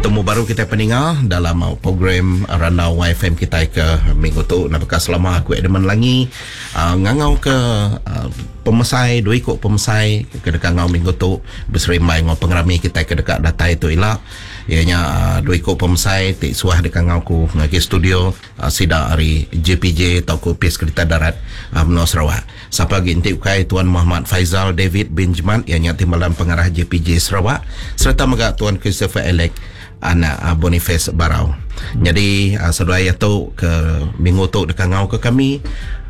Betemu baru kitai peninga dalam program Randau YFM kitai ke minggu tu. Nah baka selama aku Edmund Langi ngangau ke pemesai dua iku pemesai ke deka enggau minggu tu beserimbai enggau pengerami kitai ke deka datai tu ila iya nya dua iku pemesai ti suah deka enggau ku ngagai studio sida ari JPJ tauka Opis Kerita Darat Menua Sarawak. Sapa agi enti ukai Tuan Muhammad Faizal David bin Jemat iya nya Timbalan Pengarah JPJ Sarawak sereta mega Tuan Christopher Alec anak Boniface Barau. Nyadi seduai iya tu ke minggu tu deka ngau ke kami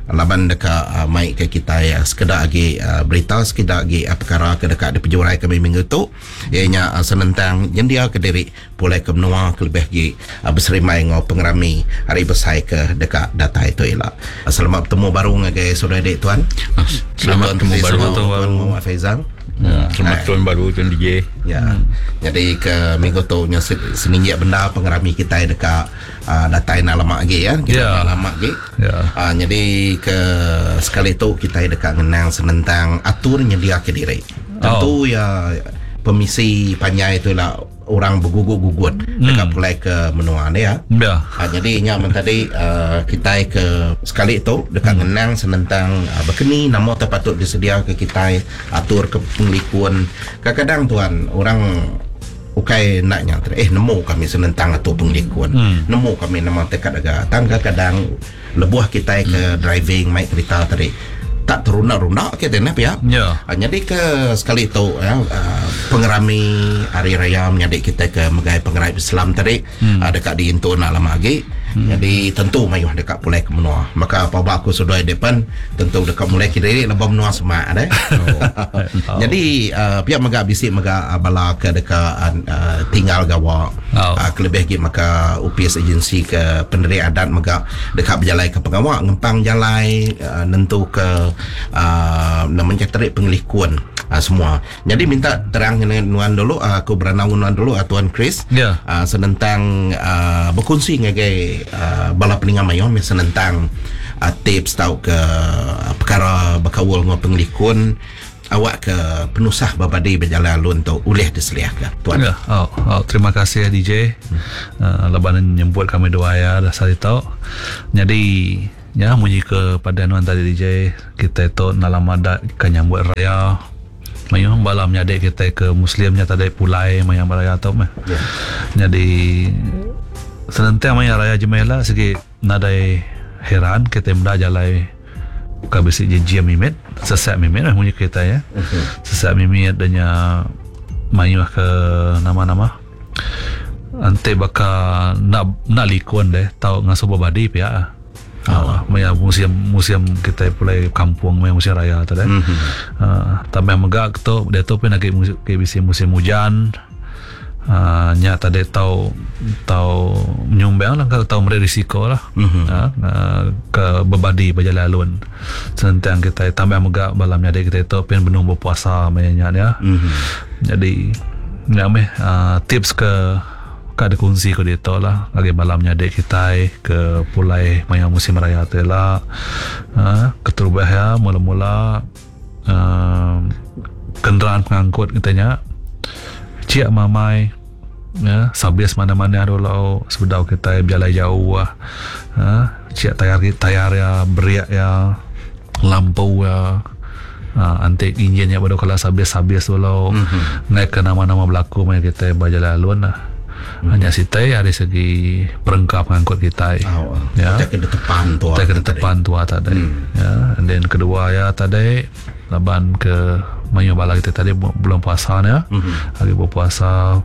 laban deka mai ke kitai sekeda agi berita sekeda agi pekara ke deka dipejurai kami minggu tu iya nya senentang nyendia ke diri pulai ke menua kelebih agi beserimbai enggau pengerami hari besai ke deka datai tu ila. Selamat betemu baru ngagai saudara dik tuan. Selamat betemu baru tuan Muhammad Faizal. Ya. Selamat tahun baru tuan DJ. Ya. Jadi ke minggu tu nya seninjik bendar pengerami kitai deka uh, datai nak lama agi ya. Kita ya. lama agi. Ya. Uh, jadi ke sekali tu kitai deka ngenang senentang atur nyendia ke diri. Tentu oh. ya pemisi panjai tu lah orang begugut-gugut deka pulai ke menua ni ya. Ya. Ha, jadi nya men tadi uh, kitai ke sekali tu deka hmm. ngenang senentang uh, bekeni nama te patut disedia ke kitai atur ke pengelikun. Kadang-kadang tuan orang ukai nak nya eh nemu kami senentang atur pengelikun. Hmm. Nemu kami nama tekat aga. Tang kadang-kadang lebuh kitai ke hmm. driving mai kereta tadi tak terunda-runda ke tadi pia. Ya. Ha, jadi ke sekali tu ya uh, pengerami hari raya menyadi kita ke megai pengerai Islam tadi hmm. uh, dekat diintu nak lama lagi. Hmm. Jadi tentu mayuh dekat pulai ke menua. Maka apa aku sudah depan tentu dekat mulai ke diri lebah menua semak deh. Oh. Jadi uh, pihak mega bisi mega uh, bala ke dekat uh, tinggal gawa. Oh. Uh, kelebih lagi maka UPS agensi ke pendiri adat mega dekat berjalai ke pengawa ngempang jalai uh, nentu ke uh, namanya terik pengelikun uh, semua. Jadi minta terang dengan nuan dulu uh, aku beranau nuan dulu uh, Tuan Chris. Ya. Uh, senentang uh, berkongsi ngagai uh, bala peninga mayuh senentang uh, tips tau ke uh, perkara berkaul dengan pengelikun awak ke penusah berbadi berjalan alun tu ulih diseliahkan tuan. Ya, oh, oh, terima kasih DJ. Hmm. Laban nyebut kami dua ya dasar itu. Jadi ya munyi ke pada nuan tadi DJ kita tu dalam adat ke nyambut raya. Mayuh bala menyadi kita ke muslimnya tadi pulai maya raya tu meh. Ya. Jadi senentang maya raya jemela segi nadai heran kita meda jalai buka bisi jejim mimit sesak mimit lah munyi kita ya. Uh-huh. Sesak mimit danya mayuh ke nama-nama. Ante baka nak nak likun deh tau ngasuh berbadi pia. Oh. Maya musim musim kita pulai kampung maya musim raya tu deh. Mm-hmm. Tambah mega tu dia tu pun lagi musim, bisi musim hujan. Nya tadi tau tau menyumbang lah kalau tau meri risiko lah. Mm-hmm. Ke berbadi berjalan alun. Sentang kita tambah mega balam nyadi kita tu pun benung berpuasa maya nya dia. Mm-hmm. Jadi nya meh tips ke ka ada kongsi ke dia tu lah lagi malam nyadi kita ke pulai maya musim raya tu lah. Keterubah ya mula-mula kenderaan pengangkut kita nya cik mamai ya sabis mana-mana dulu sebedau kita berjalan jauh lah. Cik tayar ya beriak ya lampu ya. Antik enjinnya baru kalau sabis-sabis dulu. Mm-hmm. Naik ke nama-nama berlaku maya kita berjalan alun lah. Hanya sitai dari segi perengkap pengangkut kita. Oh, ya. Kita kena tepan tua. Kita kena tepan tua tadi. Ya, and then kedua ya tadi laban ke mayu bala kita tadi belum puasa ya. Mm-hmm. Hari berpuasa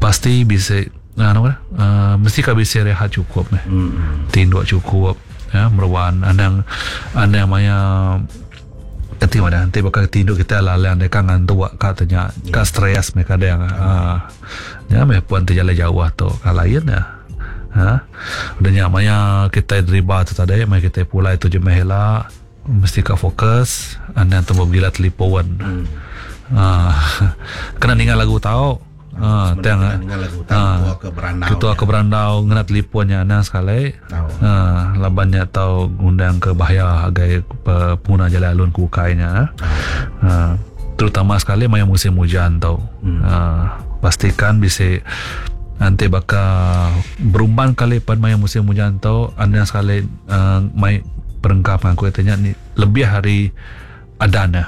pasti bisa mesti kau bisa rehat cukup meh. Mm-hmm. Tidur cukup ya, meruan andang andang maya Nanti mana nanti bakal tidur kita lalang dia kan ngantuk katanya Ya. ka stres mereka kadang ya meh puan terjalan jauh tu ka lain ya. Ha udah nya maya kita driba tu tadi maya kita pulai tu je mehela mesti ka fokus anda tu gila telefon. Kena dengar lagu tau. Tang dengar lagu tau ketua ke berandau. Ketua ke berandau ngena telefonnya anang sekali. Labannya tau ngundang ke bahaya agai pengguna jalan alun kukainya. Terutama sekali maya musim hujan tau. Pastikan bisa Enti baka berumban kali pan maya musim ujan tu anang sekali uhh mai perengka pengangkut nya lebih ari adan iya.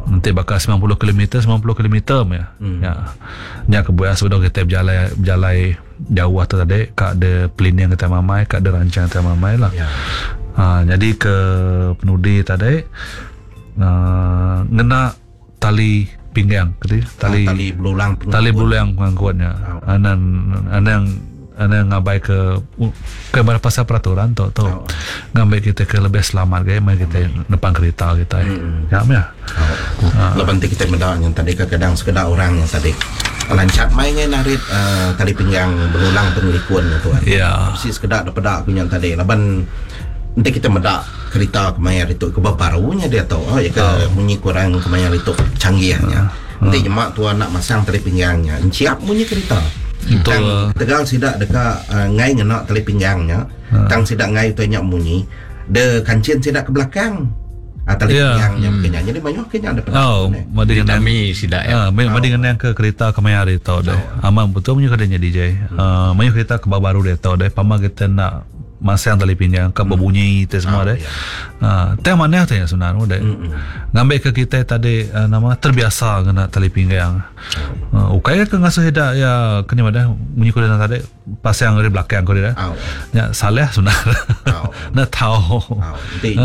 Enti baka 90 kilometer 90 kilometer meh nya. Nya kebuah sebedau kitai bejalai bejalai jauh tu tadi ka de planning kitai mamai ka de rancang kitai mamai lah. Uhh nyadi ke penudi tadi uhh ngena tali pinggang keti tali tali belulang tali belulang pengangkut nya anang anang anang ngabai ke ke bala pasal peraturan tu tu ngambi kita ke lebih selamat agi meh kita nepan kereta kitai nya meh laban ti kitai meda nya tadi kadang sekeda orang nya tadi lancat mai ngai narit uhh tali pinggang belulang pengelikun nya tuan bisi sekeda da peda ku nya tadi laban enti kita meda Kerita kemaya ditu ke baru nya diatu oh iya ke munyi ku orang kemaya ditu canggih nya. Enti nyema tua enda masang tali pinggang nya enchiap munyi kerita. Tang ketegal sida deka enggai ngena tali pinggang nya tang sida enggai utai nya munyi de kanchin sida ke belakang tali pinggang nya baka nya. Jadi mayuh ke nya daripada Oh, madi ngenang Ditami sida iya. Madi ngenang ke kerita kemaya ditu deh. Amat betul munyi ke nya DJ. Mayuh kerita ke baru ditu deh pama kita enda Masang tali pinjang ka bebunyi ti semua deh. Ha tang manah ti sebenar deh. Ngambi ke kitai tadi nama terbiasa ngena tali pinggang. Ha ukai ke ngasuh ida iya keni madah munyi ku deh tadi pasang ari belakang ku deh. Nya salah sebenar. Enda tau. Enti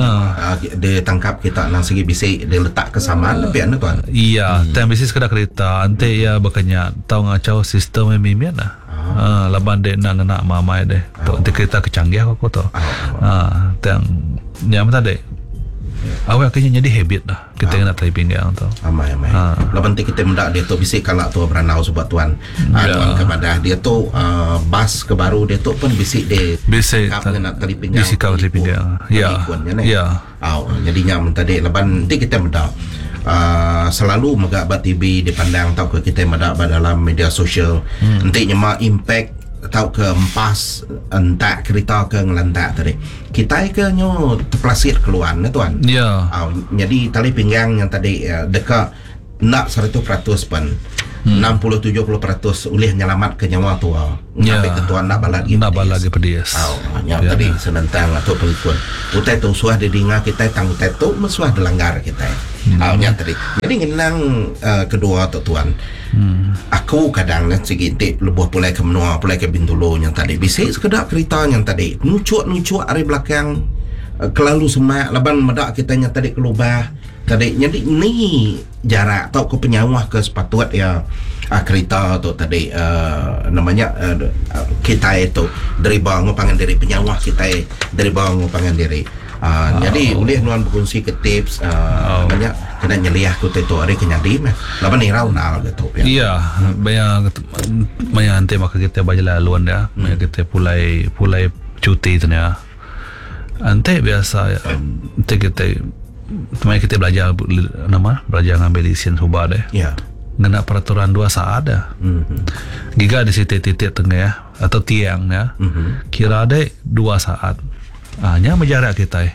dia tangkap kita nang sigi bisi dia letak ke saman pia ne tuan. Iya tang bisi sekeda kerita enti iya baka nya tau ngachau sistem mimit lah. Haa laban dek enda ngena mamai deh. Tu enti kerita ke canggih ko aku tu. Haa tang nya meh tadi. Awak ke nya nyadi habit dah kita ngena tali pinggang tu. Amai amai. Laban enti kita meda diatu bisi kala tua berandau suba tuan. Haa tuan ke madah diatu aaa bas ke baru diatu pun bisi di Bisi sikap ngena tali pinggang. Disikap tali pinggang. Ya. Ya. Au nyadi nya men tadi laban enti kitai meda aaa selalu mega ba TV dipandang tauka kitai meda ba dalam media sosial enti nyema impact tauka empas entak kerita ke ngelantak tadi kitai ke nyu tepelasit keluan ne tuan. Ya. Au nyadi tali pinggang nya tadi deka enda 100% pen 60 70% ulih nyelamatka nyawa tua ngambika tua enda balat agi Enda balat agi pedis. Au nya tadi senentang atur pengelikun. Utai tu suah didinga kitai tang utai tu meh suah dilanggar kitai. Au nya tadi. Nyadi ngenang uhh kedua tu tuan. Aku kadang ne sigi enti lebuh pulai ke menua pulai ke Bintulu nya tadi bisi sekeda kerita nya tadi nuchuk nuchuk ari belakang kelalu semak laban meda kitai nya tadi kelubah. Tadi nyadi ni jarak tauka penyauh ke sepatut iya kerita tu tadi uhh nama nya uhh kitai tu deriba enggau pangan diri penyauh kitai deriba enggau pangan diri uhh nyadi ulih nuan bekunsi ke tips uhh nama nya kena nyeliah ke utai tu ari ke nyadi meh laban irau endar ke tu pia. Iya maya maya enti baka kitai ba jalai alun dia maya kitai pulai pulai cuti tu nya. Enti biasa enti kitai maya kitai belajar nama belajar ngambi lesen suba deh ngena peraturan dua saat da. Giga di siti titik tengah atau tiang nya kira deh dua saat. Aa nya meh jarak kitai.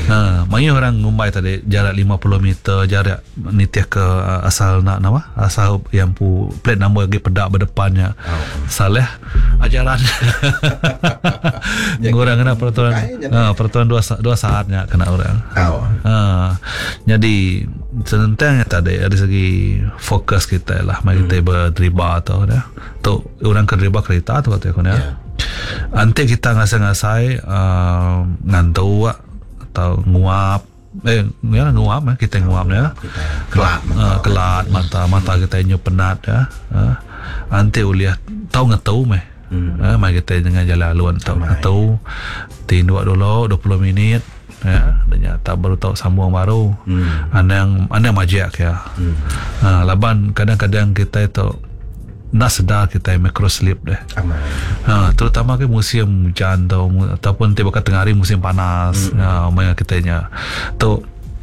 Aa mayuh orang ngumbai tadi jarak 50 meter jarak nitih ke asal enda nama asal iya empu plate number agi peda ba depan nya. Salah ajaran orang kena peraturan ha, peraturan dua dua saat nya kena orang. Ha, jadi senentang nya tadi dari segi fokus kita lah mari kita berdriba tu dah. Tu orang ke driba kereta tu kata aku nya. Anti kita ngasai-ngasai uh, ngantuk atau nguap Eh, ya nguap eh kita nguap ya. Kelat mata. Uh, kelat mata, mata kita nyu penat ya. Uh, anti ulih tau ngetu meh. Hmm. Uh, mai kita dengan jalan alun tau ngetu. Tinduk dulu 20 minit ya, dan tak baru tau sambung baru. Hmm. Anang anang majak ya. Hmm. Uh, laban kadang-kadang kita tu Enda sedar kitai micro sleep deh. Ha, terutama ke musim hujan tu ataupun ti baka tengah hari musim panas. Ha, maya kitai nya. Tu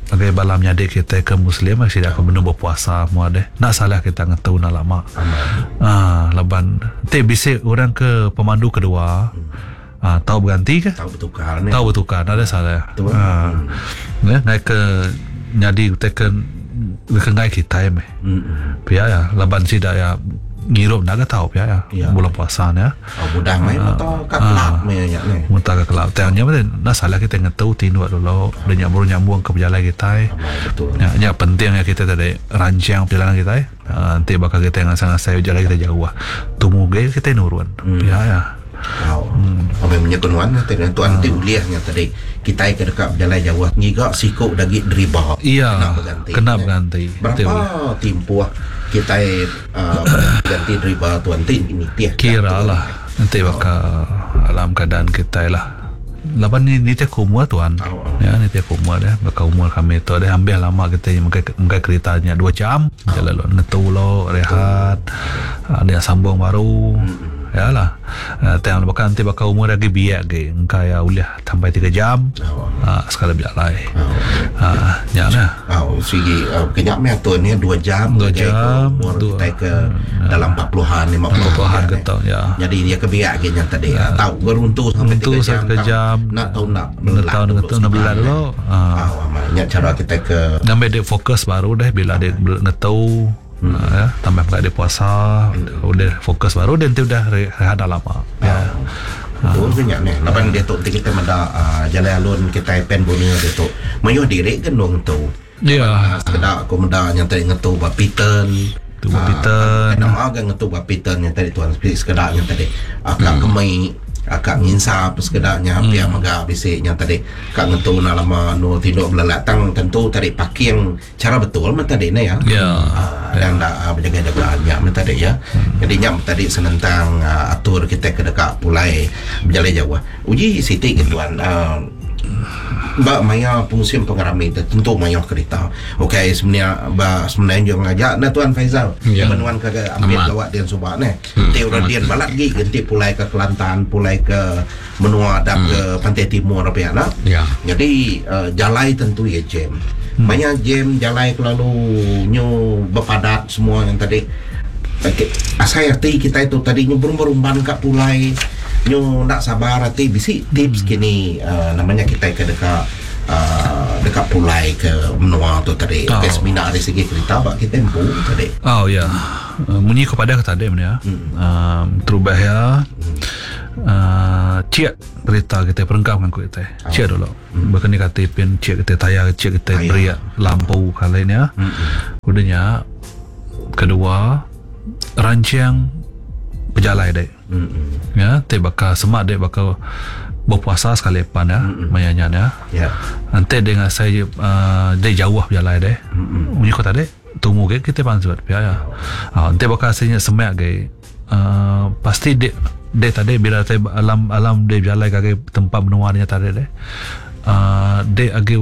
ngagai bala menyadi kitai ke muslim sida ke benung berpuasa mua deh. Enda salah kita ngetu enda lama. Ha, laban ti bisi orang ke pemandu kedua ha, tau berganti ke? Tau bertukar ne. Tau bertukar nadai salah. Ha. Ne ngai ke nyadi utai ke ke ngai kitai meh. Pia ya laban sida ya. ngirup enda ga tau pia ya. Ya. Bulan puasa nya. Oh, mudah mai mata ka kelab meh nya neh. Muntah ka kelab. Tang nya meh enda salah kitai ngetu tinduk dulu udah nya baru nyambung ke pejalai kitai. Amai betul. Nya nya penting iya kitai tadi rancang perjalanan kitai. Aaa enti baka kitai ngasai-ngasai pejalai kitai jauh tumu agi kitai nurun. Pia iya. Au. Amai menyekun nuan ti tuan ti ulih nya tadi kitai ke deka bejalai jauh ngiga siku da agi deriba Iya kena beganti. kena beganti. Berapa timpuh kitai aaa beganti deriba tuan ti nitih Kira lah enti baka alam keadaan kitai lah. Laban ni nitih ke umur tuan. Ya nitih ke umur deh baka umur kami tu deh ambih lama kitai megai megai kerita nya dua jam lalu ngetu lo rehat dia sambung baru. Ya lah. Tang baka enti baka umur agi biak agi engka iya ulih sampai tiga jam aaa sekali bejalai. Aaa nya lah. Au sigi kenya meh atur nya dua jam Dua jam umur dua kitai ke dalam empat puluhan lima Empat puluhan puluhan nya ke tau ya. Nyadi iya ke biak agi nya tadi tau beruntu sampai Runtu tiga jam sampai tiga tang jam. enda tau enda Enda belelak tau dulu ngetu enda sekejap belelak neh. dulu aaa. Au amai nya chara kitai ke Ngambi dek fokus baru deh bila dek ngetu. Ya, tambah mega dia puasa, udah fokus baru dia enti udah rehat dah lama. Ya. Betul ke nya neh. Laban diatu enti kita meda aaa jalai alun kitai Pan Borneo ditu mayuh diri ke endung ngetu. Ya. Sekeda aku meda nya tadi ngetu ba Piton. Ngetu ba Piton. Nama ga ngetu ba Piton nya tadi tuan sekeda nya tadi ka kemi ka nginsap sekeda nya pia mega bisi nya tadi ka ngetu enda lama endur tinduk belelak tang tentu tadi parking Chara betul meh tadi ne ya. Ya. Anang enda bejaga-jaga nya meh tadi ya. Jadi nya meh tadi senentang atur kitai ke deka pulai bejalai jauh. Uji siti ke tuan uhh ba maya musim pengerami tu tentu mayuh kerita. Ukai semina ba semenanjung aja ne tuan Faizal. Ya. Laban nuan ke ampit gawa din suba neh. Enti orang din balat agi enti pulai ke Kelantan, pulai ke menua adap ke Pantai Timur pia enda. Ya. Jadi uhh jalai tentu iya jam. Maya jam jalai kelalu nyu bepadat semua yang tadi asai ati kitai tu tadi nyu berumban-rumban ka pulai nyu enda sabar ati bisi tips kini uhh nama nya kitai ke deka uhh deka pulai ke menua tu tadi Oh. ukai semina ari segi kerita ba kitai empu tadi. Oh ya. Munyi ko padah ke tadi meh nya. Uhh terubah iya. Aaa chek kerita kitai perengka pengangkut kitai chek dulu baka ni kati pin chek kitai tayar chek kitai brek lampu kali nya udah nya kedua rancang pejalai dek ya ti baka sema dek baka berpuasa sekali pan ya maya nya nya enti dek ngasai aaa dek jauh pejalai dek munyi ko tadi tumu agi kitai pansut pia ya enti baka asai nya semak agi. uhh pasti dek dek tadi bila tai alam alam dek bejalai ngagai tempat menua nya tadi deh uhh dek agi.